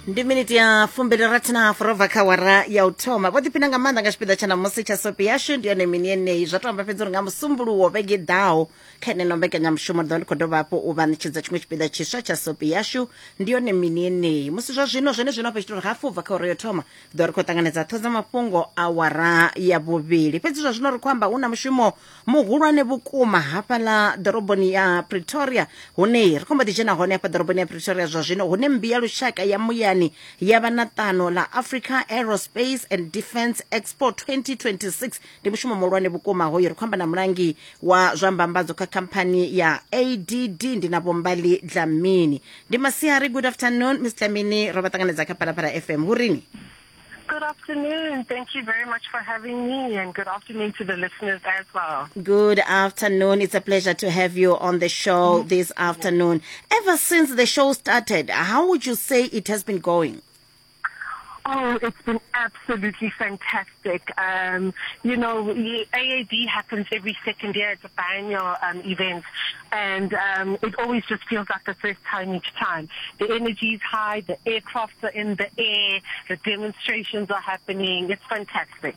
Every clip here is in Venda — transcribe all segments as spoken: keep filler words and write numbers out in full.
Ndi miniti ya fumbili rathi na hafu ro bva kha awara ya u thoma. Vho ḓiphina nga maanḓa nga tshipiḓa tsha ṋamusi tsha sopi yashu ndi yone mini yeneyi. Zwa to amba fhedzi uri nga musumbuluwo vhege ḓaho kha eneno mbekanyamushumo ri ḓo ndi khou dovha hafhu u vha ṋetshedza tshiṅwe tshipiḓa tshiswa tsha sopi yashu ndi yone mini yeneyi. Musi zwa zwino zwene zwino hafha tshi tou ri hafu u bva kha awara yo thoma ḓo ri khou ṱanganedza ṱhoho dza mafhungo awara ya vhuvhili. Fhedzi zwa zwino ri khou amba hu na mushumo muhulwane vhukuma hafhaḽa ḓoroboni ya Pretoria, hune ri khou mbo ḓi dzhena hone hafha ḓoroboni ya Pretoria zwa zwino, hune mmbi ya lushaka ya muyani ya vha na ṱano ḽa Africa Aerospace and Defence Expo twenty twenty-six. Ndi mushumo muhulwane vhukuma hoyo. Ri khou amba na mulangi wa zwa mbambadzo kha khamphani ya A D D, ndi na Vho Mbali Dlamini. Ndi masiari, good afternoon Miss Dlamini, ro vha ṱanganedza kha Phalaphala F M. Hurini? Good afternoon. Thank you very much for having me, and good afternoon to the listeners as well. Good afternoon. It's a pleasure to have you on the show mm-hmm. this afternoon. Ever since the show started, how would you say it has been going? Oh, it's been absolutely fantastic. Um, you know, A A D happens every second year. It's a biennial um, event, and um, it always just feels like the first time each time. The energy is high, the aircrafts are in the air, the demonstrations are happening. It's fantastic.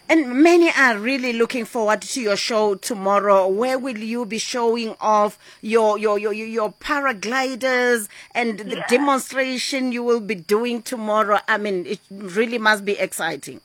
And many are really looking forward to your show tomorrow. Where will you be showing off your your your, your paragliders and the yeah. demonstration you will be doing tomorrow? I mean, it really must be exciting.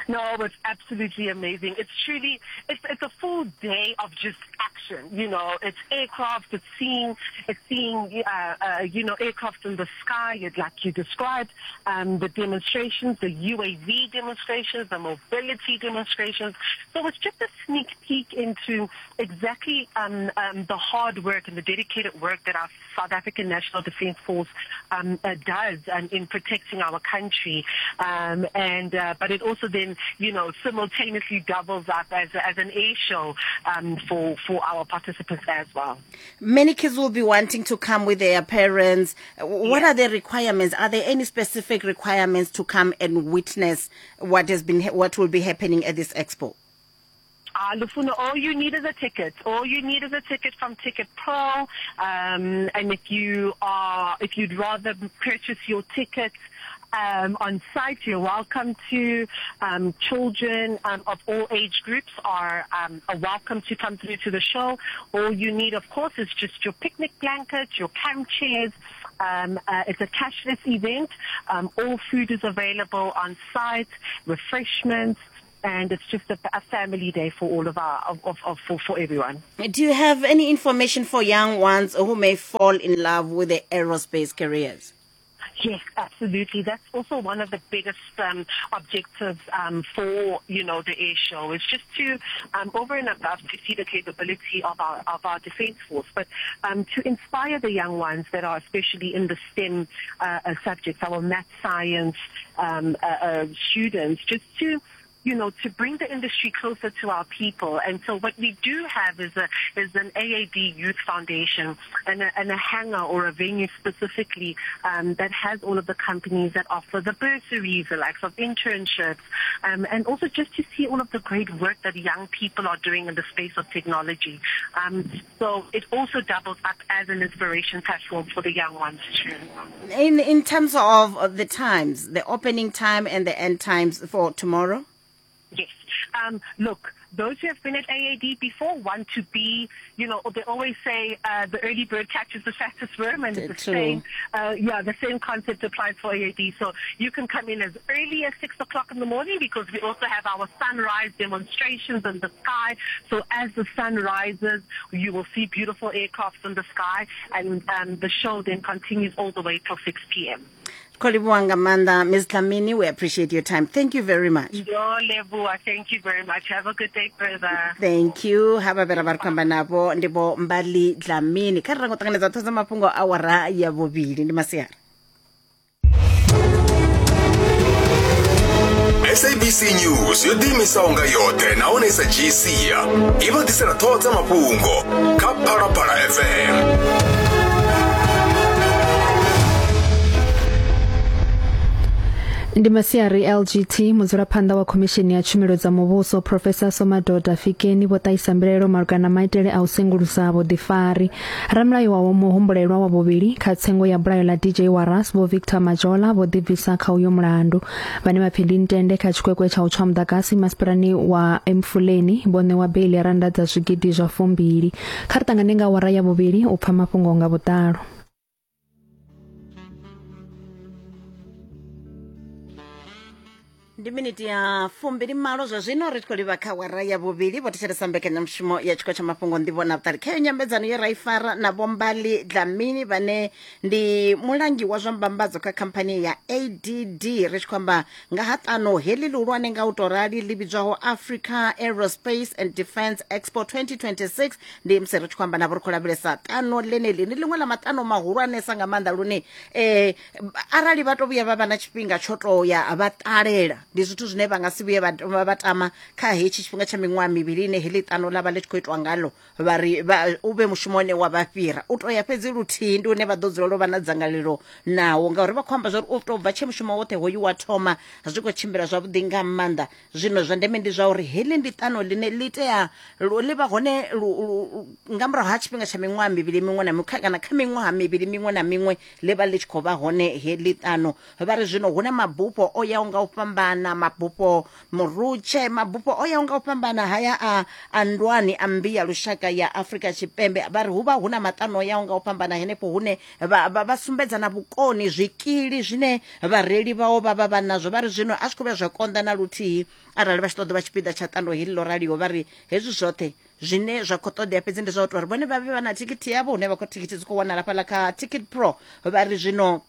No, it's absolutely amazing. It's truly, it's it's a full day of just action. You know, it's aircraft, it's seeing, it's seeing, uh, uh, you know, aircraft in the sky, like you described, um, the demonstrations, the U A V demonstrations, the mobility demonstrations. So it's just a sneak peek into exactly um, um, the hard work and the dedicated work that our South African National Defence Force um, uh, does um, in protecting our country. Um, and uh, but it also then, you know, simultaneously doubles up as, as an air show um, for, for our participants as well. Many kids will be wanting to come with their parents. What yeah. are the requirements? Are there any specific requirements to come and witness what has been, what will be happening at this expo? Uh, Lufuno, all you need is a ticket. All you need is a ticket from Ticket Pro. Um, and if you are, if you'd rather purchase your ticket um, on site, you're welcome to. Um, children um, of all age groups are, um, are welcome to come through to the show. All you need, of course, is just your picnic blanket, your camp chairs. Um, uh, it's a cashless event. Um, all food is available on site, refreshments. And it's just a, a family day for all of our, of, of, of for, for everyone. Do you have any information for young ones who may fall in love with the aerospace careers? Yes, absolutely. That's also one of the biggest um, objectives um, for, you know, the air show is just to, um, over and above, to see the capability of our of our defence force, but um, to inspire the young ones that are especially in the STEM uh, uh, subjects, our math, science um, uh, uh, students, just to, you know, to bring the industry closer to our people. And so what we do have is a is an A A D Youth Foundation and a, and a hangar or a venue specifically um, that has all of the companies that offer the bursaries, the likes of internships, um, and also just to see all of the great work that young people are doing in the space of technology. Um, so it also doubles up as an inspiration platform for the young ones too. In, in terms of the times, the opening time and the end times for tomorrow? Yes. Um, look, those who have been at A A D before want to be, you know, they always say uh, the early bird catches the fattest worm, and it's the same, uh, yeah, the same concept applies for A A D. So you can come in as early as six o'clock in the morning, because we also have our sunrise demonstrations in the sky. So as the sun rises, you will see beautiful aircrafts in the sky, and um, the show then continues all the way till six p m Kolibuanga Manda, Miz Dlamini, we appreciate your time. Thank you very much. Thank you very much. Have a good day further. Thank you. Haba bera ba khamba nabo ndibo Mbali Dlamini. Kha ri ngo ṱanganedza ṱhoho dza mafhungo awara ya vhuvhili ndi masiari. S A B C News yo ḓiimisaho nga yoṱhe nahone sa G C i vha ḓisela ṱhoho dza mafhungo kha Phalaphala F M. Ndi masiari L G T mudzulaphanḓa wa khomishini ya tshumelo dza muvhuso Professor Somadoda Fikeni vho ṱahisa mbilaelo malugana na maitele a u sengulusa vhuḓifari. Ramulayo wa muhumbulelwa wa vhuvhili kha tsengo ya bulayo ḽa D J Waras Vho Victor Majola vho ḓibvisa kha uyo mulandu. Vhane vha pfi ndi ntende kha tshikwekwe tsha u tswa muḓagasi masipalani wa Emfuleni vho ṋewa beili ya rannda dza zwigidi zwa fumbili. Kha ri ṱangane nga awara ya vhuvhili u pfa mafhungo nga vhuḓalo. Ndi miniti ya fumbili malo zwa zwino ri tshi khou livha kha awara ya vhuvhili. Vho thetshelesa mbekanyamushumo ya tshiko tsha mafhungo nḓivho na vhuṱali. Khayo nyambedzano ye ra i fara na Vho Mbali Dlamini vhane ndi mulangi wa zwa mbambadzo kha khamphani ya A D D, ri tshi khou amba nga ha ṱano heḽi ḽihulwane nga u tou rali ḽi vhidzwaho Africa Aerospace and Defence Expo twenty twenty-six. Ndi musi ri tshi khou amba navho ri khou lavhelesa ṱano ḽeneḽi, ndi ḽiṅwe ḽa maṱano mahulwanesa nga maanḓa lune eh, arali vha to vhuya vha vha na tshifhinga tsho to ya vha ṱalela, ndi zwithu zwine vha nga si vhuye vha vha tama kha hetshi tshifhinga tsha miṅwaha mivhili ine heḽi ṱano ḽa vha ḽi tshi khou itwa ngalo, vha ri u vhe mushumo une wa vha fhira. U to ya fhedzi luthihi ndi une vha ḓo dzulela u vha na dzangalelo nawo, ngauri vha khou amba zwa uri u tou bva tshe mushumo woṱhe hoyu wa thoma zwi khou tshimbila zwavhuḓi nga maanḓa. Zwino zwa ndeme ndi zwa uri heḽi ndi ṱano ḽine ḽi tea ḽi vha hone nga murahu ha tshifhinga tsha miṅwaha mivhili miṅwe na miṅwe kana kha miṅwaha mivhili miṅwe na miṅwe ḽi vha ḽi tshi khou vha hone heḽi ṱano. Vha ri zwino hu na mabufho o yaho nga u fhambana, mabufho murutshe, mabufho o yaho nga u fhambana haya a a ndwani a mmbi ya lushaka ya Afrika Tshipembe. Vha ri hu vha hu na maṱano o yaho nga u fhambana henefho hune vha vha sumbedza na vhukoni, zwikili zwine vhareili vhao vha vha vha nazwo. Vha ri zwino a zwi khou vhuya zwa konḓa na luthihi arali vha tshi ṱoḓa vha tshipiḓa tsha ṱano heḽi ḽo raliho. Vha ri hezwi zwoṱhe zwine zwa khou ṱoḓea fhedzi ndi zwa u tou uri vhone vha vhe vha na thikhithi yavho, hune vha khou thikhithi dzi khou wanala fhaḽa kha Ticket Pro. Vha ri zwino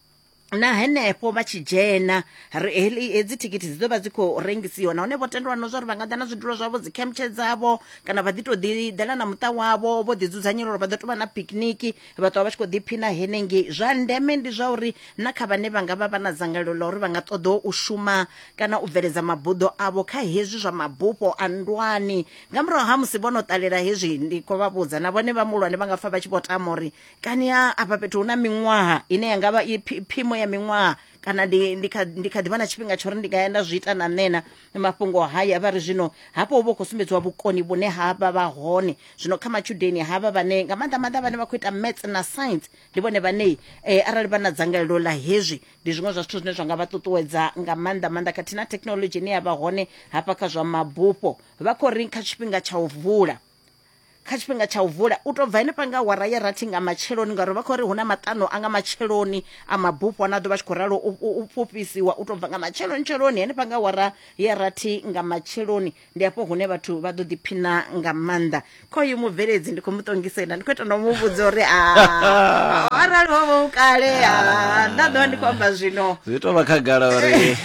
na henefho vha tshi dzhena hedzi thikhithi dzi ḓo vha dzi khou rengisiwa, nahone vho tendelwa na zwa uri vha nga ḓa na zwidulo zwavho, dzi khemtshe dzavho, kana vha ḓi tou ḓi ḓela na muṱa wavho vho ḓi dzudzanyela uri vha ḓo tou vha na picnic, vha ṱwa vha tshi khou ḓiphina henengei. Zwa ndeme ndi zwa uri na kha vhane vha nga vha vha na dzangalelo ḽa uri vha nga ṱoḓa u shuma kana u bveledza mabuḓo avho kha hezwi zwa mabufho a ndwani, nga murahu ha musi vho no ṱalela hezwi, ndi khou vha vhudza na vhone vha muhulwane vha nga pfa vha tshi vho tama uri kani afha fhethu hu na miṅwaha ine ya nga vha i phimo ya miṅwaha, kana ndi ndi kha ndi kha ḓivha na tshifhinga tsho uri ndi nga ya nda zwi ita na nṋe na mafhungo haya. Vha ri zwino hafho hu vha khou sumbedziwa vhukoni vhune ha vha vha hone zwino kha matshudeni havha vhane nga maanḓa maanḓa vhane vha khou ita maths na science, ndi vhone vhane eh, arali vha na dzangalelo ḽa hezwi ndi zwiṅwe zwa zwithu zwine zwa nga vha ṱuṱuwedza nga maanḓa maanḓa, khathihi na thekhinolodzhi ine ya vha hone hafha kha zwa mabufho. Vha khou ri kha tshifhinga tsha u vula kha tshifhinga tsha u vula u tou bva henefha nga awara ya rathi nga matsheloni, ngauri vha khou ri hu na maṱano a nga matsheloni a mabufho ana ḓo vha tshi khou ralo u fhufhisiwa u tou bva nga matsheloni tsheloni henefha nga awara ya rathi nga matsheloni. Ndi hafho hune vhathu vha ḓo ḓiphina nga maanḓa. Khoyu mubveledzi ndi khou mu ṱongisela, ndi khou ita no mu vhudza uri a arali ho vha u kale a nda ḓo vha ndi khou amba zwino zwi tou vha khagala uri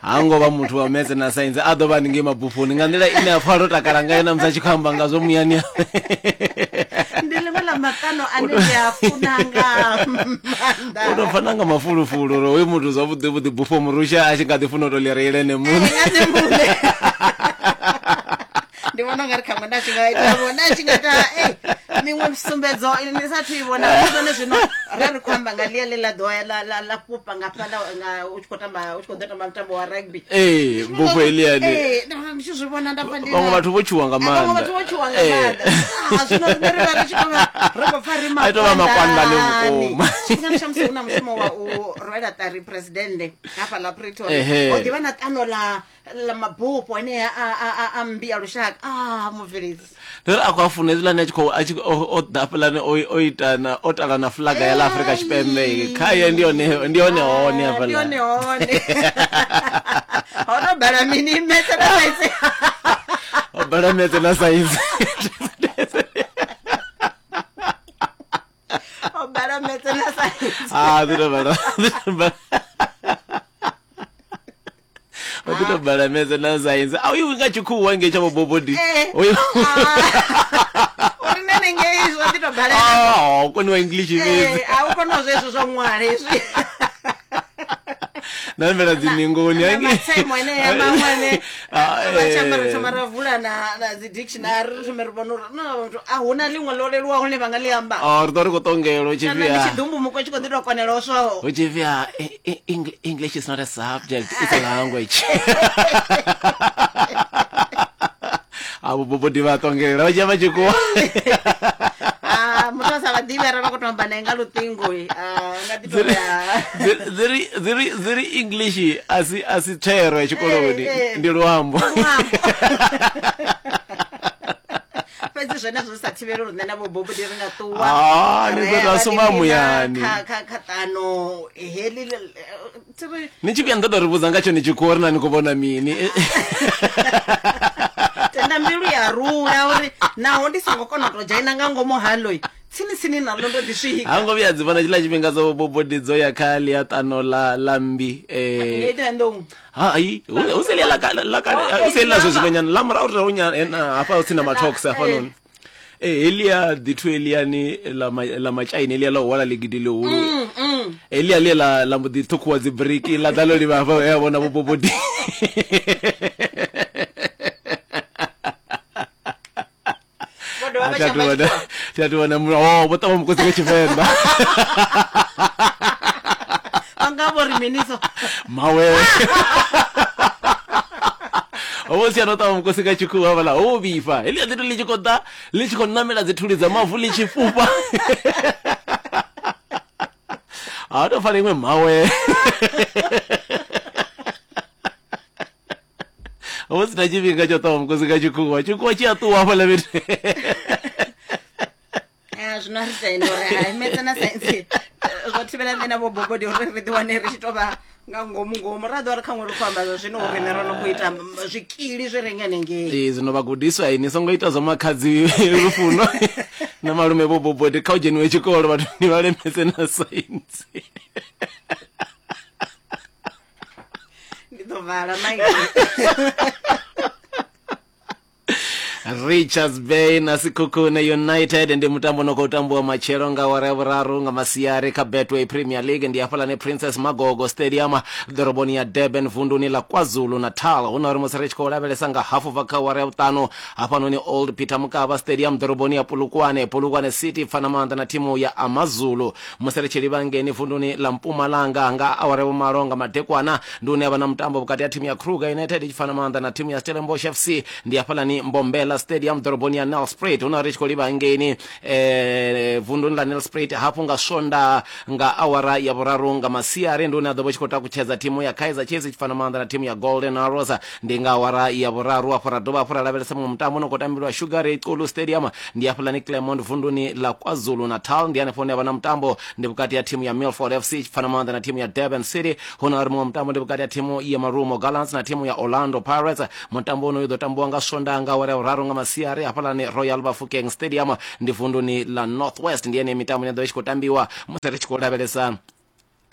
ha ngo vha muthu wa maths na science a ḓo vha ningei mabufhoni nga nḓila ine a pfa ro takala ngayo na musi a tshi khou amba ngazwo muyani. Ndi ḽiṅwe ḽa maṱano ane ndi a funa nga maanḓa, u tou pfa na nga mafulufulu uri hoyu muthu zwavhuḓi vhuḓi bufho murusha a tshi nga ḓi funa u tou ḽi reila ene muṋe. Ndi vhona ungari khaṅwe nda tshi nga ita vho nda tshi nga ita miṅwe misumbedzo ni sathu i vhona zwone. Zwino ra ri khou amba nga ḽia ḽe ḽa ḓo ya ḽa ḽa ḽa fhufha nga fhaḽa nga u tshi khou tamba u tshi khou ḓo tamba mutambo wa rugby. Ee, bufho heḽiani. Ee, ndi tshi zwi vhona nda pfa ndi vhaṅwe vhathu vho tshuwa nga maanḓa. Vhaṅwe vhathu vho tshuwa nga maanḓa. Ah, zwino riṋe ri vha ri tshi khou vha ri khou pfa ri A tou vha makwandani vhukuma. Tshifhinga tsha musi hu na mushumo wa u rwela ṱari presidennde hafhaḽa Pretoria, ho ḓivha na ṱano ḽa ḽa mabufho anea a a a mmbi ya lushaka. Ah, mubveledzi ndi uri a khou a funa hezwiḽani a tshi khou a tshi o ḓa hafhaḽani o ita na o tala na flaga ya ḽa Afrika Tshipembe khaye ndi hone ndi hone hone hafhaḽa ndi hone hone ho no bala mini maths na science, ho bala maths na science, ho bala maths na science. Ah, ndi bala o ḓi tou bala maths na science. A uyu nga tshikhuwa ngei tsha vhobobodi uyu uri nene ngei zwo ḓi tou bala. Ah, u koniwa English fhedzi. A u kona zwezwo zwa ṅwala hezwi. namela dzi ningoni na matsemo ene ya maṅwe vha tshi amba ri thoma ra vula na na dzi dictionary ri thome ri vhona uri no a huna ḽiṅwe ḽo leluwaho ḽine vha nga ḽi amba. Oh, ri ḓo ri khou ṱongelwa hu tshi Kana ndi pfi tshiḓumbu mukwe tshi khou ḓi tou konela swaho. hu tshi pfi ah, E- E- English is not a subject, it's a language. Avho bobodi vha ṱongelela vha tshi ya vha tshikuwa. Ah, muthu a sa vha ḓivhi arali vha khou tou amba nae nga luṱingo ah, nga ḓi tou ya Dzi ri dzi ri dzi ri English a si a si thero ya tshikoloni, Eh, eh. ndi luambo. Luambo. Fhedzi zwenezwo zwi sa thivheli uri nṋe na vho Bobodi ri nga ṱuwa Ah, ni ḓo ra tou ya sumba ra ḓiphina muyani. kha kha kha ṱano heḽi ḽi- thi ri Ni tshi vhuya ni ḓo tou ri vhudza nga tshone tshikhuwa uri na ni khou vhona mini. Tenda mbilu ya rula uri naho ndi songo kona u tou dzhaina nga ngomu haḽo tsini tsini naḽo ndo ḓi swika. Ha ngo vhuya dzi vhona tshiḽa tshifhinga dzo Bobodi dzo ya kha ḽia ṱano ḽa ḽa mmbi eh Ngei Ṱhohoyanḓou. Hai, hu hu si ḽia ḽa kale ḽa kale hu si ḽa zwo zwino nyana ḽa murahu ri hu nyana hafha hu si na mathox hafhanoni. Eh helia ḓithu eliani ḽa ḽa matshaini helia ḽa u hwala ḽigidi ḽihulu. Helia ḽia ḽa ḽa mbo ḓi ṱhukhuwa dzi briki ḽa ḓa ḽo livha hafha ya vhona vho Bobodi. Vho dovha vha tshi amba Thi tshikhuwa. a thu vhona oh vho ṱavha mukosi nga Tshivenḓa. Vha nga vho ri mini so? Mawe. Ho si ano ṱavha mukosi nga tshikhuwa hafhaḽa ho vhifha. Heḽia ḓithu ḽi tshi khou ḓa ḽi tshi khou namela dzi thuli dza mavu ḽi tshi fhufha. Ha to pfala iṅwe mawe. Ho si na tshifhinga tsho ṱavha mukosi nga tshikhuwa. Tshikhuwa tshi a ṱuwa hafhaḽa fhethu. Ah, zwino a ri tende uri hai metse na saintsi zwo thivhela nṋe na vho Bobodi uri ri ḓi wane ri tshi tou vha nga ngomu ngomu ra ḓo ri khaṅwe ri khou amba zwa zwino uri riṋe ro no khou ita zwikili zwi re nga hanengei. Ee, zwino vhagudiswa ni songo ita zwa makhadzi lufuno na malume vho Bobodi, kha u dzheniwe tshikolo vhathu ni vha lemetse na saintsi. Ndi ḓo vala maiki. Richards Bay na Sekhukhune United ndi mutambo no khou tambiwa matshelo nga awara ya vhuraru nga masiari kha Betway Premier League, ndi hafhaḽani Princess Magogo Stadium ḓoroboni ya Durban vunduni ḽa KwaZulu Natal. Hu na uri musi ri tshi khou lavhelesa nga hafu bva kha awara ya vhuṱanu hafhanoni Old Peter Mokaba Stadium ḓoroboni ya Polokwane, Polokwane City pfana maanḓa na thimu ya Amazulu. Musi ri tshi livha ngeni vunduni ḽa Mpumalanga nga awara ya vhumalo nga madekwana ndi hune havha na mutambo vhukati ha thimu ya Kruger United i tshi pfana maanḓa na thimu ya Stellenbosch F C, ndi hafhaḽani Mbombela Stadium ḓoroboni ya Nelspruit. Hu na ri tshi khou livha hangeini eh vunduni ḽa Nelspruit hafhu nga Sonda nga awara ya vhuraru nga masiari ndi hune a ḓo vha tshi khou takutshedza thimu ya Kaizer Chiefs i tshi fana maanḓa na thimu ya Golden Arrows, ndi nga awara ya vhuraru. Afho ra dovha hafhu ra lavhelesa muṅwe mutambo no khou tambiwa Sugar Ray Xulu Stadium, ndi hafhaḽani Claremont vunduni ḽa KwaZulu Natal, ndi hanefho hune ha vha na mutambo ndi vhukati ha thimu ya Milford F C i tshi fana maanḓa na thimu ya Durban City. Hu na uri muṅwe mutambo ndi vhukati ha thimu ya Marumo Gallants na thimu ya Orlando Pirates. Mutambo uno u ḓo tambiwa nga Sonda nga awara ya vhuraru nga masiari hafhaḽani Royal Bafokeng Stadium, ndi vunduni ḽa North West. Ndi ene mitambo ine ḓo i tshi khou tambiwa musi ri tshi khou lavhelesa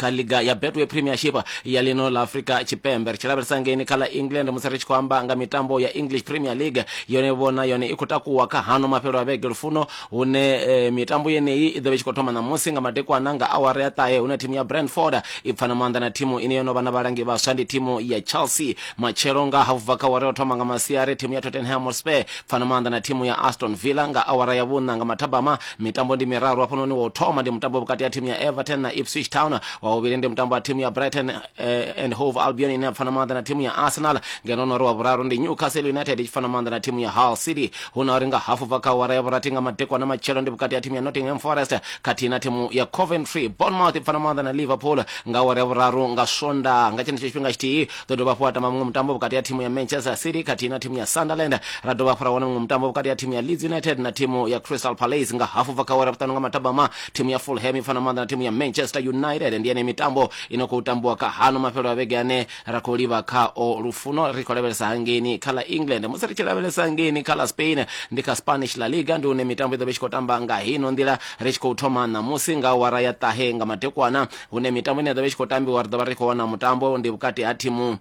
kha liga ya Betway Premiership ya lino ḽa Afrika Tshipembe. Ri tshi lavhelesa ngeni kha ḽa England musi ri tshi khou amba nga mitambo ya English Premier League, yone vhona yone i khou takuwa kha hano mafhelo a vhege lufuno, hune eh, mitambo yeneyi i ḓo vha i tshi khou thoma ṋamusi nga madekwana nga awara ya ṱahe, hune thimu ya Brentford i pfana maanḓa na thimu ine yo no vha na vhalangi vhaswa ndi thimu ya Chelsea. Matshelo nga hafu bva kha awara ya u thoma nga masiari thimu ya Tottenham Hotspur pfana maanḓa na thimu ya Aston Villa nga awara ya vhuṋa nga mathabama. Mitambo ndi miraru hafhanoni, wa u thoma ndi mutambo vhukati ha thimu ya Everton na Ipswich Town, wa vhuvhili ndi mutambo wa thimu ya Brighton eh, and Hove Albion ine ya pfana maanḓa na thimu ya Arsenal, ngeno no ri wa vhuraru ndi Newcastle United i tshi pfana maanḓa na thimu ya Hull City. Hu na uri nga hafu bva kha awara ya vhurathi nga madekwana matshelo ndi vhukati ha thimu ya Nottingham Forest khathihi na thimu ya Coventry. Bournemouth i pfana maanḓa na Liverpool nga awara ya vhuraru nga Sonda. Nga tshenetsho tshifhinga tshithihi ḓo dovha hafhu ha tamba muṅwe mutambo vhukati ha thimu ya Manchester City khathihi na thimu ya Sunderland. Ra dovha hafhu ra wana muṅwe mutambo vhukati ha thimu ya Leeds United na thimu ya Crystal Palace nga hafu bva kha awara ya vhuṱanu nga mathabama thimu ya Fulham i pfana maanḓa na thimu ya Manchester United. Ndi ene mitambo ino khou tambiwa kha hano mafhelo a vhege ane ra khou livha khao lufuno. Ri khou lavhelesa hangeini kha ḽa England. Musi ri tshi lavhelesa hangeini kha ḽa Spain ndi kha Spanish La Liga, ndi hune mitambo i ḓo vha i tshi khou tamba nga hino nḓila. Ri tshi khou thoma ṋamusi nga awara ya ṱahe nga madekwana, hune mitambo ine ya ḓo vha i tshi khou tambiwa ri ḓo vha ri khou wana mutambo ndi vhukati ha thimu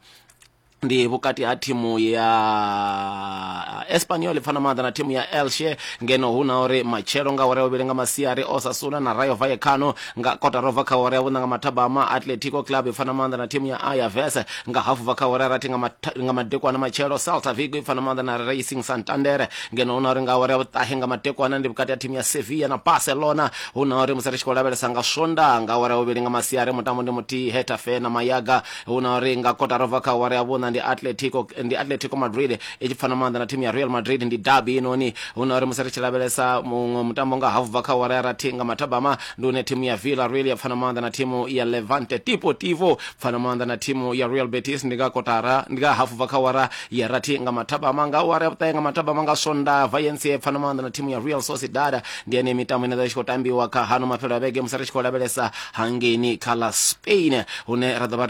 Ndi vhukati ha thimu ya Espanyol pfana maanḓa na thimu ya Elche, ngeno hu na uri matshelo nga awara ya vhuvhili nga masiari Osasuna na Rayo Vallecano. Nga kotara ubva kha awara ya vhuṋa nga mathabama Atletico Club pfana maanḓa na thimu ya Alavés. Nga hafu bva kha awara ya rathi nga madekwana matshelo Celta Vigo pfana maanḓa na Racing Santander, ngeno hu na uri nga awara ya vhuṱahe nga madekwana ndi vhukati ha thimu ya Sevilla na Barcelona. Hu na uri musi ri tshi khou lavhelesa nga Sonda nga awara ya vhuvhili nga masiari mutambo ndi muthihi Getafe na Mayaga. Hu na uri nga kotara ubva kha awara ya vhuṋa ndi Atletico ndi Atletico Madrid i tshi pfana maanḓa na thimu ya Real Madrid, ndi derby inoni. Hu na uri musi ri tshi lavhelesa muṅwe mutambo nga hafu bva kha awara ya rathi nga mathabama ndi une thimu ya Villarreal ya pfana maanḓa na thimu ya Levante Deportivo pfana maanḓa na thimu ya Real Betis, ndi nga kotara ndi nga hafu bva kha awara ya rathi nga mathabama. Nga awara ya vhuṱahe nga mathabama nga Sonda Valencia pfana maanḓa na thimu ya Real Sociedad. Ndi ene mitambo ine ya tshi khou tambiwa kha hano mafhelo a vhege musi ri tshi khou lavhelesa hangeini kha ḽa Spain, hune ra ḓo vha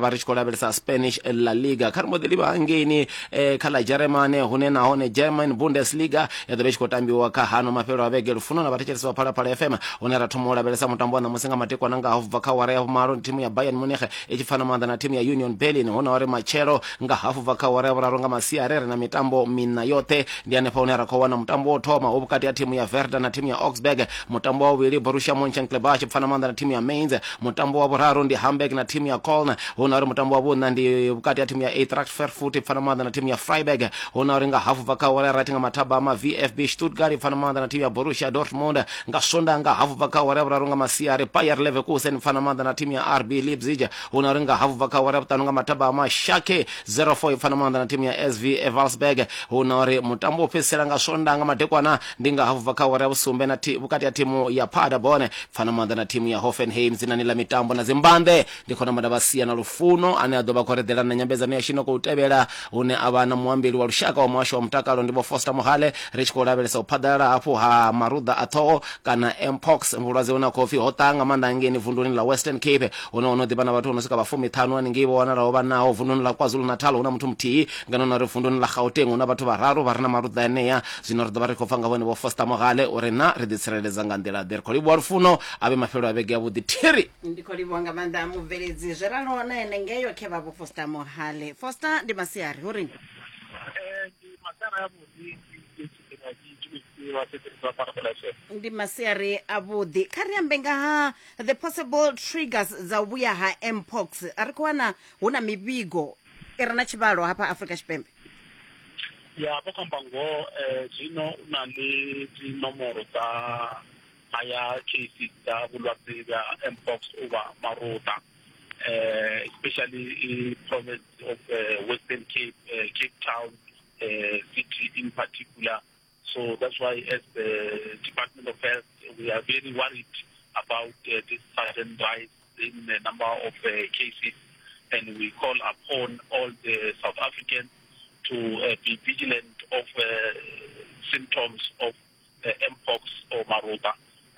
ri tshi khou lavhelesa Spanish La Liga. Kha ri mbo ḓi livha hangeini kha ḽa Germany, hune nahone German Bundesliga ya ḓo vha i tshi khou tambiwa kha hano mafhelo a vhege. Lufuno na vhathetshelesi vha Phalaphala F M, hune ra thoma u lavhelesa mutambo wa ṋamusi nga matekwana nga hafu bva kha awara ya vhumalo ndi thimu ya Bayern Munich i tshi pfana maanḓa na thimu ya Union Berlin. Hu na uri matshelo nga hafu bva kha awara ya vhuraru nga masiari ri na mitambo miṋa yoṱhe, ndi hanefha hune ra khou wana mutambo wo thoma hu vhukati ha thimu ya Werder na thimu ya Augsburg, mutambo wa vhuvhili Borussia Mönchengladbach pfana maanḓa na thimu ya Mainz, mutambo wa vhuraru ndi Hamburg na thimu ya Köln. Hu na uri mutambo wa vhuṋa ndi vhukati ha thimu ya Eintracht Frankfurt pfana maanḓa na thimu ya Freiburg. Hu na uri nga hafu bva kha awara ya rathi nga mathabama V F B Stuttgart pfana maanḓa na thimu ya Borussia Dortmund. Nga Sonda nga hafu bva kha awara ya vhuraru nga masiari Bayer Leverkusen pfana maanḓa na thimu ya R B Leipzig. Hu na uri nga hafu bva kha awara ya vhuṱanu nga mathabama Schalke zero four pfana maanḓa na thimu ya S V Wolfsburg. Hu na uri mutambo wo fhedzisela nga Sonda nga madekwana ndi nga hafu bva kha awara ya vhusumbe na vhukati ha thimu ya Paderborn pfana maanḓa na thimu ya Hoffenheim. Dzinani ḽa mitambo na dzimbanḓe ndi khona mada vha sia na Lufuno ane a ḓo vha khou reḓela na nyambedzano ya shino khou tevhela, hune a vha na muambeli wa lushaka wa muhasho wa mutakalo ndi Vho Foster Mohale. Ri tshi khou lavhelesa u phaḓalala hafhu ha maruḓa a ṱhoho kana mpox, vhulwadze hune ha khou pfi ho ṱaha nga maanḓa hangeini vunduni ḽa Western Cape, hune ho no ḓivha na vhathu vho no swika vha fumiṱhanu haningei vho wanalaho vha naho. Vunduni ḽa KwaZulu-Natal hu na muthu muthihi, ngeno na uri vunduni ḽa Gauteng hu na vhathu vhararu vha re na maruḓa enea. Zwino ri ḓo vha ri khou pfa nga vhone Vho Foster Mohale uri na ri ḓi tsireledza nga nḓila ḓe. Ri khou livhuwa Lufuno, a vhe mafhelo a vhege avhuḓi. Thiri ndi khou livhuwa nga maanḓa mubveledzi. Zwe ralo na ene ngeyo khe vha Vho Foster Mohale. Foster, ndi masiari hu ri ndi masiari avhuḓi. Kha ri ambe nga ha the possible triggers dza u vhuya ha mpox. A ri khou wana hu na mivhigo i re na tshivhalo hafha Afrika Tshipembe. Ya vho khou amba ngoho, zwino u na le dzinomoro dza haya cases dza vhulwadze bya mpox over maruḓa, uh, especially in province of uh, Western Cape, uh, Cape Town uh, city in particular. So that's why as the Department of Health, we are very worried about uh, this sudden rise in the number of uh, cases, and we call upon all the South Africans to uh, be vigilant of uh, symptoms of uh, mpox or maruta.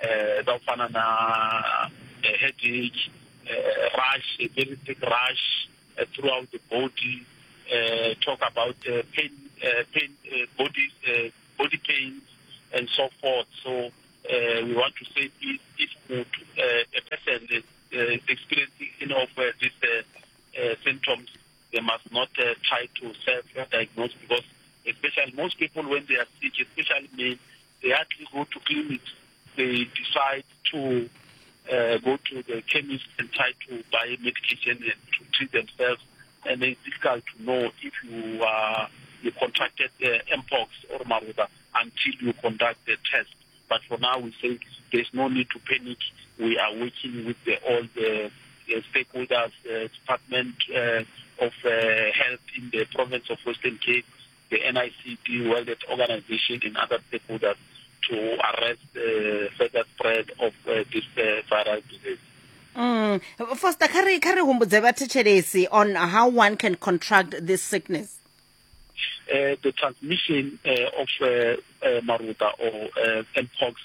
Uh, na headache, uh, rash, a very thick rash uh, throughout the body, uh, talk about uh, pain, uh, pain, uh, body, uh, body pains, and so forth. So uh, we want to say, please, if uh, a person is uh, experiencing any of uh, these uh, uh, symptoms, they must not uh, try to self-diagnose, because especially most people when they are sick, especially men, they actually go to clinics. They decide to uh, go to the chemist and try to buy medication and to treat themselves. And it's difficult to know if you uh, you contracted uh, mpox or maruda until you conduct the test. But for now, we say there's no need to panic. We are working with the, all the, the stakeholders, uh, Department uh, of uh, Health in the province of Western Cape, the N I C D, World Health Organization, and other stakeholders to arrest the further spread of uh, this uh, viral disease. Mm. Foster, kha ri kha ri humbudze vhathetshelesi on how one can contract this sickness. Uh, the transmission uh, of uh, uh, maruta or uh, mpox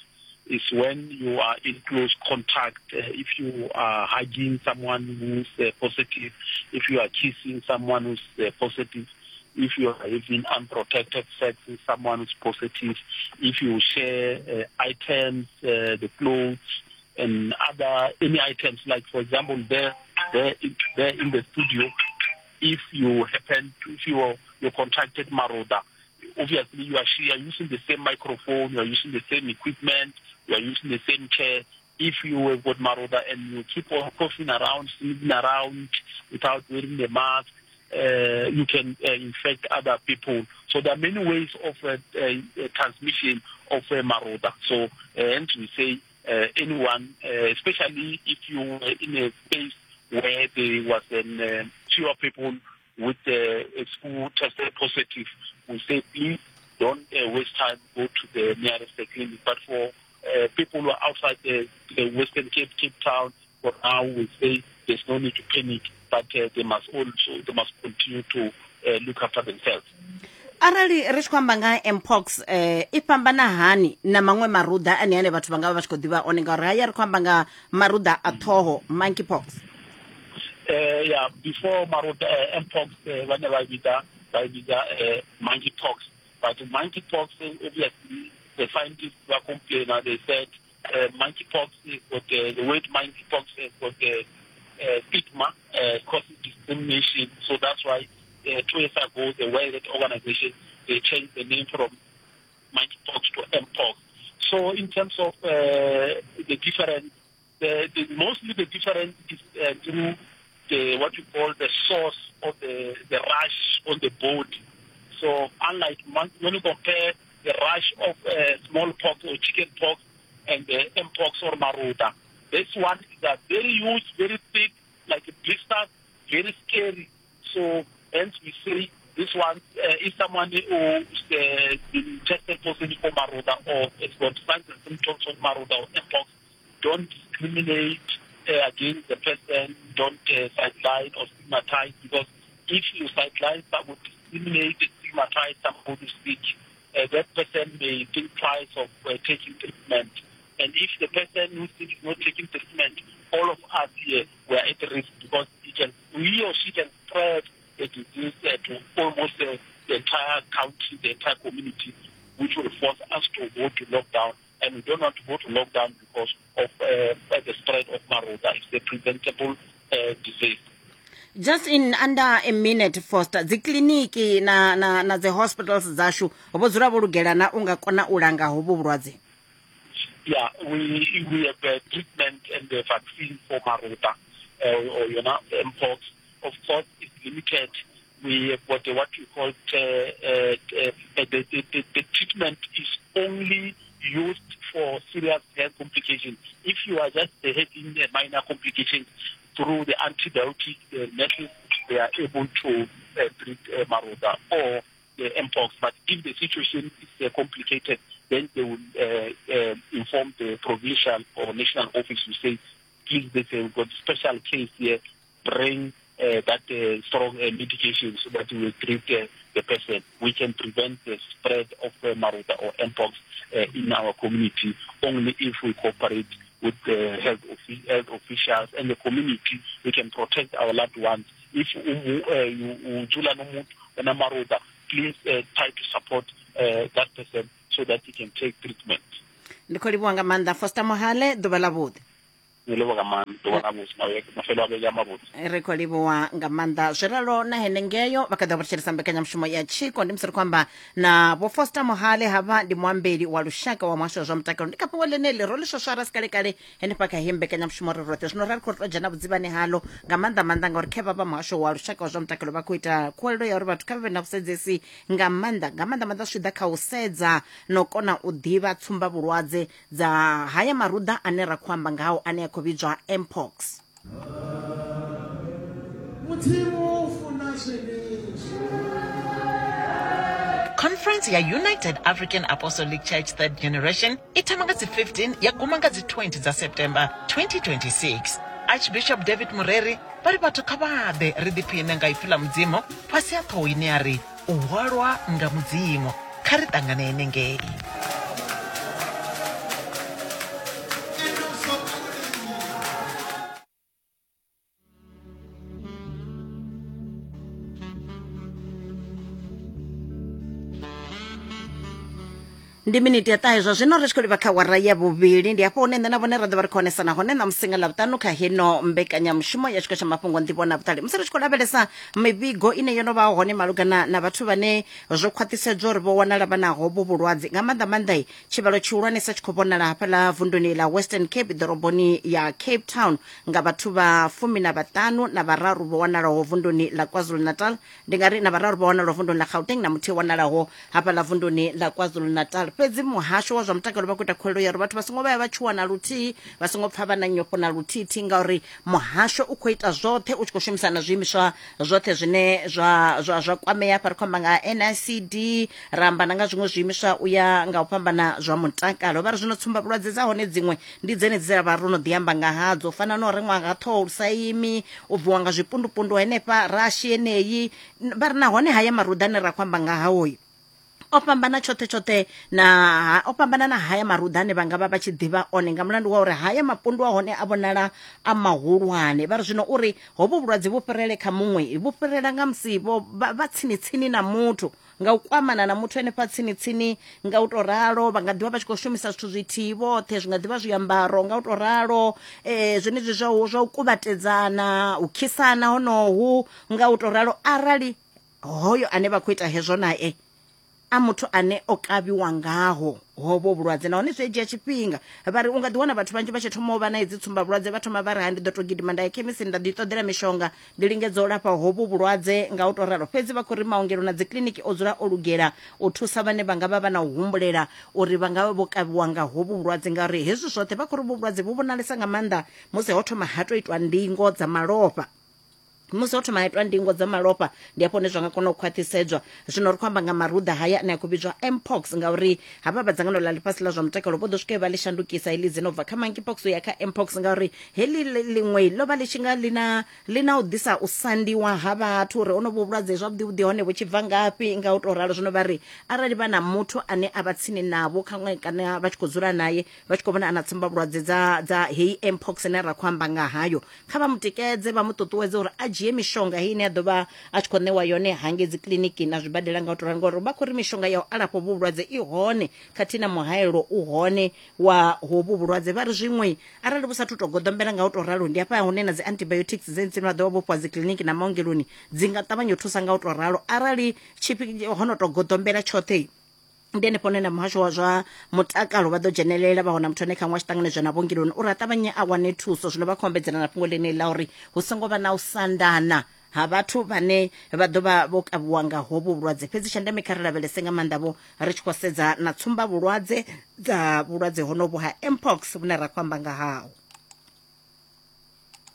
is when you are in close contact. Uh, if you are hugging someone who's uh, positive, if you are kissing someone who's uh, positive, if you are having unprotected sex with someone who's positive, if you share uh, items, uh, the clothes, and other any items, like for example, there, there, there in the studio, If you happen to, if you are, you contracted Maroda, obviously you are, you are using the same microphone, you are using the same equipment, you are using the same chair. If you have got Maroda and you keep on coughing around, sneezing around without wearing the mask, uh, you can uh, infect other people. So there are many ways of uh, uh, transmission of uh, Maroda. So, uh, and we say uh, anyone, uh, especially if you were in a space where there was an, uh, fewer people with uh, who tested positive, we say please don't uh, waste time, go to the nearest clinic. But for uh, people who are outside the, the Western Cape, Cape Town, for now we say there's no need to panic, but uh, they must also they must continue to uh, look after themselves. Arali ri tshi khou amba nga mpox eh i fhambana hani na maṅwe maruḓa ane ane vhathu vha nga vha vha tshi khou ḓivha one, ngauri haya ri khou amba nga maruḓa a ṱhoho, monkeypox. Uh, yeah, before maruda uh, mpox, uh, vha vhidza vha vhidza uh, monkeypox, but monkeypox obviously the scientists were complaining. They said uh, monkeypox is got uh, the word monkeypox has got the uh, stigma, uh, causes discrimination. So that's why uh, two years ago the World Health Organization, they changed the name from monkeypox to mpox. So in terms of uh, the difference, the, the, mostly the difference is uh, through the, what you call the source of the, the rash on the body. So unlike when you compare the rash of uh, smallpox or chickenpox and the mpox or maroda, this one is a very huge, very thick, like a blister, very scary. So hence we say this one, uh, if someone who's uh, been tested positive for maroda or has got signs and symptoms of maroda or mpox, don't discriminate uh, against the person, don't uh, sideline or stigmatize, because if you sideline someone, discriminate and stigmatize somebody who's sick, uh, that person may think twice of uh, taking treatment. And if the person who's sick is not taking treatment, all of us here we are at risk, because he can, he or she can spread the disease uh, to almost uh, the entire country, the entire community, which will force us to go to lockdown. And we don't want to go to lockdown because of uh, the spread of maroda. It's a preventable uh, disease. Just in under a minute, Foster, dzi kiliniki na na na dzi hospitals dzashu vho dzula vho lugela na unga kona u langa hovhu vhulwadze? Yeah, we we have a treatment and the vaccine for maroda uh, or you know mpox. Of course, it's limited. We have got what we call uh, uh, uh, the, the, the, the treatment is only used for serious health complications. If you are just having a minor complications, through the antibiotic uh, methods, they are able to uh, treat uh, maroda or the mpox. But if the situation is uh, complicated, then they will uh, uh, inform the provincial or national office to say, please, they say, we've got a special case here, bring uh, that uh, strong uh, medication so that we will treat uh, the person. We can prevent the spread of uh, maroda or mpox uh, in our community only if we cooperate with the health, health officials and the community. We can protect our loved ones. If you maroda, please uh, try to support uh, that person so that he can take treatment. Ndi khou livhuwa nga maanḓa Foster Mohale, ḓuvha ḽa vhuḓi. Ri khou livhuwa nga maanḓa. Zwi ralo na henengeyo vha kha ḓi vha thetshelesa mbekanyamushumo ya Tshiko. Ndi musi ri khou amba na Vho Foster Mohale, havha ndi muambeli wa lushaka wa muhasho wa zwa mutakalo. Ndi kha fhungo ḽeneḽi ro ḽi swaswara si kalekale henefha kha heyi mbekanyamushumo ri roṱhe. Zwino ra ri khou tou dzhena vhudzivhani halo nga maanḓa maanḓa ngauri khe vha vha muhasho wa lushaka wa zwa mutakalo vha khou ita khuwelelo ya uri vhathu kha vha vhe na vhusedzesi nga maanḓa nga maanḓa maanḓa zwi ḓa kha u sedza no kona u ḓivha tsumba vhulwadze dza haya maruḓa ane ra khou amba ngao ane a khou vhidzwa mpox. Conference ya United African Apostolic Church Third Generation i thoma nga dzi fifteen ya guma nga dzi twenty dza September twenty twenty-six. Archbishop David Mureri vha ri vhathu kha vha ḓe ri ḓiphine nga ipfi ḽa Mudzimu fhasi ha ṱhoho ine ya ri u hwalwa nga Mudzimu. Kha ri ṱangane henengei. Ndi miniti ya ṱahe zwa zwino ri tshi khou livha kha wara ya vhuvhili. Ndi hafho hune nṋe na vhone ra ḓo vha ri khou onesana hone ṋamusi nga Ḽavhuṱanu kha heno mbekanyamushumo ya tshiko tsha mafhungo nḓivho na vhuṱali. Musi ri tshi khou lavhelesa mivhigo ine yo no vha hone malugana na vhathu vhane zwo khwaṱhisedzwa uri vho wanala vha na hovhu vhulwadze, nga maanḓa maanḓa tshivhalo tshihulwanesa tshi khou vhonala hafhaḽa vunduni ḽa Western Cape ḓoroboni ya Cape Town nga vhathu vha fumi na vhaṱanu na vhararu vho wanalaho vunduni ḽa KwaZulu-Natal. Ndi nga ri na vhararu vho wanalaho vunduni ḽa Gauteng na muthihi wanalaho hafhaḽa vunduni ḽa KwaZulu-Natal. Fhedzi muhasho wa zwa mutakalo vha khou ita khuwelelo ya uri vhathu vha songo vha vha tshuwa na luthihi, vha songo pfa vha na nyofho na luthihi, ngauri muhasho u khou ita zwoṱhe u tshi khou shumisana na zwiimiswa zwoṱhe zwine zwa zwa zwa kwamea. Hafha ri khou amba nga N I C D, ra amba na nga zwiṅwe zwiimiswa u ya nga u fhambana zwa mutakalo. Vha ri zwino tsumba vhulwadze dza hone dziṅwe ndi dzenedzi dze ra vha ro no ḓi amba nga hadzo, u fana na u reṅwa nga ṱhoho lu sa imi, u bviwa nga zwipundupundu henefha rashi yeneyi. Vha ri nahone haya maruḓa ane ra khou amba nga hao o fhambana tshoṱhe tshoṱhe na o fhambana na haya maruḓa ane vha nga vha vha tshi ḓivha one, nga mulandu wa uri haya mapundu a hone a vhonala a mahulwane. Vha ri zwino uri hovhu vhulwadze vhu fhirele kha muṅwe, vhu fhirela nga musi vho vha tsini tsini na muthu, nga u kwamana na muthu henefha tsini tsini. Nga u to ralo vha nga ḓivha vha tshi khou shumisa zwithu zwithihi vhoṱhe, zwi nga ḓivha zwiambaro nga u to ralo, eh zwenezwi zwa zwa u kuvhatedzana, u khisana honohu nga u to ralo. Arali hoyo ane vha khou ita hezwo nae a muthu ane o kavhiwa ngaho hovho vhulwadze, nahone zwi dzhia tshifhinga. Vha ri u nga ḓi wana vhathu vhanzhi vha tshi thoma u vha na idzi tsumba vhulwadze, vha thoma vha ri ha ndi ḓo to gidima nda ya khemisini nda ḓi ṱoḓela mishonga ndi lingedza u lafha hovhu vhulwadze nga u to ralo. Fhedzi vha khou ri maongelo na dzikiḽiniki o dzula o lugela u thusa vhane vha nga vha vha na u humbulela uri vha nga vha vho kavhiwa nga hovhu vhulwadze, ngauri hezwi zwoṱhe vha khou ri vhulwadze vhu vhonalesa nga maanḓa musi ho thoma ha to itwa ndingo dza malofha. Musi ho thoma ha itwa ndingo dza malofha ndi hafho hune zwa nga kona u khwaṱhisedzwa. Zwino ri khou amba nga maruḓa haya ane a khou vhidzwa mpox, ngauri havha vha dzangano ḽa ḽifhasi ḽa zwa mutakalo vho ḓo swika vha ḽi shandukisa heḽi dzina u bva kha monkeypox u ya kha mpox, ngauri heḽi ḽiṅwe ḽo vha ḽi tshi nga ḽi na ḽi na u ḓisa u sandiwa ha vhathu uri honovhu vhulwadze zwavhuḓi vhuḓi hone vhu tshi bva ngafhi nga u to ralo. Zwino vha ri arali vha na muthu ane a vha tsini navho khaṅwe kana vha tshi khou dzula naye vha tshi khou vhona ana tsumba vhulwadze dza dza heyi mpox ine ra khou amba nga hayo, kha vha mu tikedze vha mu ṱuṱuwedze uri a dzhie mishonga heyi ine ya ḓo vha a tshi khou ṋewa yone hangei dzi kiḽiniki na zwibadela nga u to ralo, ngori vha khou ri mishonga ya u alafha hovhu vhulwadze i hone khathihi na muhaelo u hone wa hovhu vhulwadze. Vha ri zwiṅwe arali vhu sathu to goḓombela nga u to ralo ndi hafha hune na dzi antibiotics dzedzi vha ḓo vha vho fhiwa dzi kiḽiniki na maongeloni dzi nga ṱavhanya u thusa nga u to ralo. Arali ho no to goḓombela tshoṱhe ndi henefho hune na muhasho wa zwa mutakalo vha ḓo dzhenelela vha wana muthu ane khaṅwe a tshi ṱanganedzwa na vhuongeloni uri a ṱavhanye a wane thuso. Zwino vha khou ombedzela na fhungo ḽeneḽi ḽa uri hu songo vha na u sandana ha vhathu vhane vha ḓo vha vho kavhiwa nga hovhu vhulwadze. Fhedzi tsha ndeme kha ri lavhelese nga maanḓa vho ri tshi khou sedza na tsumba vhulwadze dza vhulwadze honovhu ha mpox vhune ra khou amba nga haho.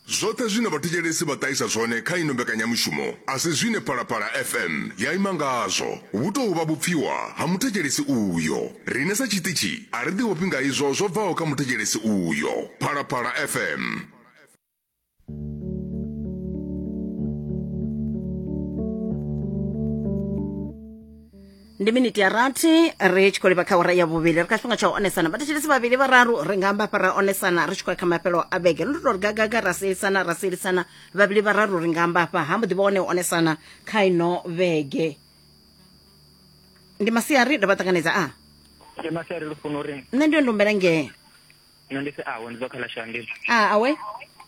Zwoṱhe zwine vhathetshelesi vha ṱahisa zwone kha ino mbekanyamushumo a si zwine Phalaphala F M ya ima ngazwo, vhu tou vha vhupfiwa ha muthetshelesi uyo. Riṋe sa tshiṱitshi a ri ḓi nga izwo zwo bvaho kha muthetshelesi uyo. Phalaphala F M. Ndi miniti ya rathi ri tshi khou livha kha awara ya vhuvhili, ri kha tshifhinga tsha u onesana. Vhathetshelesi vhavhili vhararu ri nga amba hafha ra onesana ri tshi khou ya kha mafhelo a vhege. Ri tou ri gagaga ra sielisana ra sielisana vhavhili vhararu ri nga amba hafha ha mbo ḓi vha hone u onesana kha ino vhege. Ndi masiari ndo vha ṱanganedza a Ndi masiari Lufuno uri nṋe ndi yo ndumbela ngee nṋe ndi si awe ndi bva kha ḽa Shandile. A awe